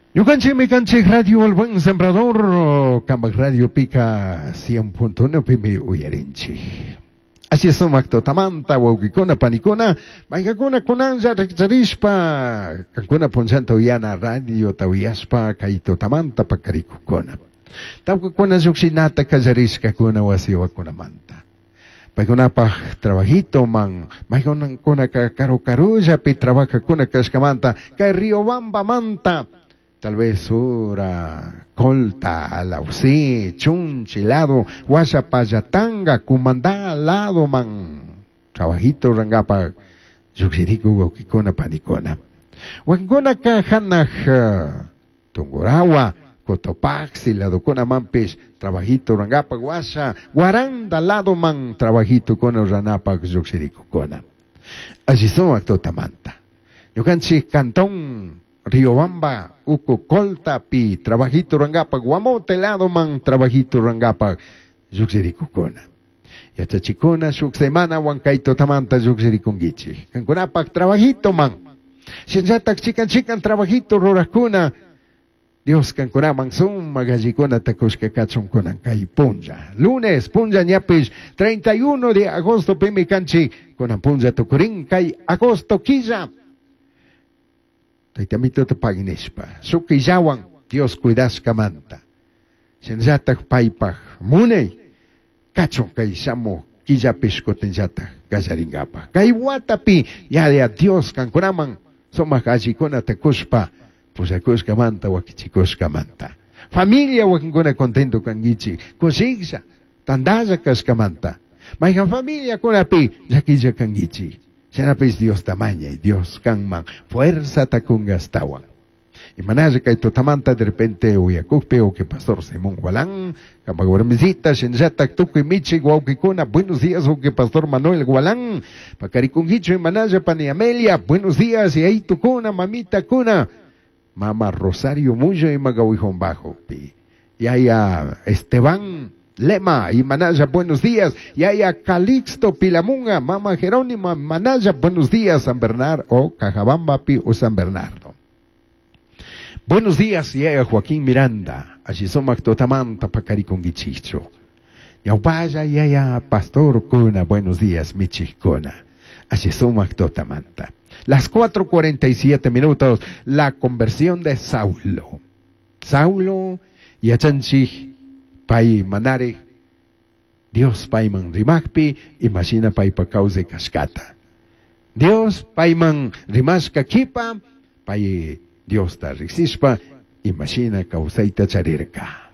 Ñukanchikmi kanchik Radio El Buen Sembrador, Cambaj Radio Pica 100.1 pimi uyarinchik. Así sumak tutamanta, wawqikuna, panikuna, maykakuna kunanlla rikcharishpa, kankuna punllanta uyana radio uyashpa kay tutamanta pakarikukuna. Tawkakuna llukshinata kallarishkakuna wasiwakunamanta. Paykunapaj trabajito man, maykunaka karu karullapi trabajakuna kashkamanta, kay Riobamba manta, tal vez ura, Colta, Alausí, Chunchi lado, Guachapayatanga, Cumandá lado man, trabajito rangapa, llukshiriku wawkikuna panikuna. Wakinkunaka hanaj Tungurahua, Cotopaxi, ladokuna manpish, trabajito rangapa, washa, Guaranda lado man, trabajito kuna ranapak llukshirikukuna. Alli sumak tutamanta. Ñukanchik cantón Riobamba, Uco Colta, pi, trabajito rangapa, Guamote lado man, trabajito rangapa, llukshirikukuna. Yachachikuna, shuk semana, wankay tutamanta llukshirikunkichik. Kankunapak trabajito man. Shinallatak chikan chikan trabajito rurakuna, Dios kankunaman sumak allikuna kushka kachun kunan kay punlla. Lunes punlla ñapish 31 de agosto pimi kanchik kunan punlla tukurin kay agosto killa. Taytamito pagui nishpa. Shuk killawan Dios cuidashkamanta. Shinallatak paypaj munay kachun kay shamuj killapish kutinllatak kallaringapaj. Kay watapi yaya Dios kankunaman sumak allikunata kushpa pushakushkamanta wakichikushkamanta. Familia wakinkuna contento kankichik, kushiklla, tantalla kashkamanta. Mayhan familia kunapi llakilla kankichik. Shinapish Diosta mañay, Dios kanman fuerzata kungastawan. Imanalla kay tutamanta de repente uyakukpi o que pastor Simón Gualán, kampak warmisita, shinallatak tukuy michik wawkikuna, buenos días o que pastor Manuel Gualán, pakarikunkichu imanalla pani Amelia, buenos días y ahí tukuna, mamita kuna, mama Rosario Mullo y Magawijón Bajo, pi. Yaya Esteban Lema y Manaya, buenos días. Yaya Calixto Pilamunga, mama Jerónima Manaya, buenos días, San Bernardo o Cajabamba pi o San Bernardo. Buenos días, Yaya Joaquín Miranda. Allí sumak tutamanta pakarikunkichichu. Ñawpalla Yaya Pastor Kuna, buenos días, michikuna. Allí sumak tutamanta. Las 4:47 minutos, la conversión de Saulo. Saulo yachanchik pay manari Dios payman rimakpi imashina paypa kawsay kashkata. Dios payman rimashka kipa pay Diosta riksishpa imashina kawsayta charirka.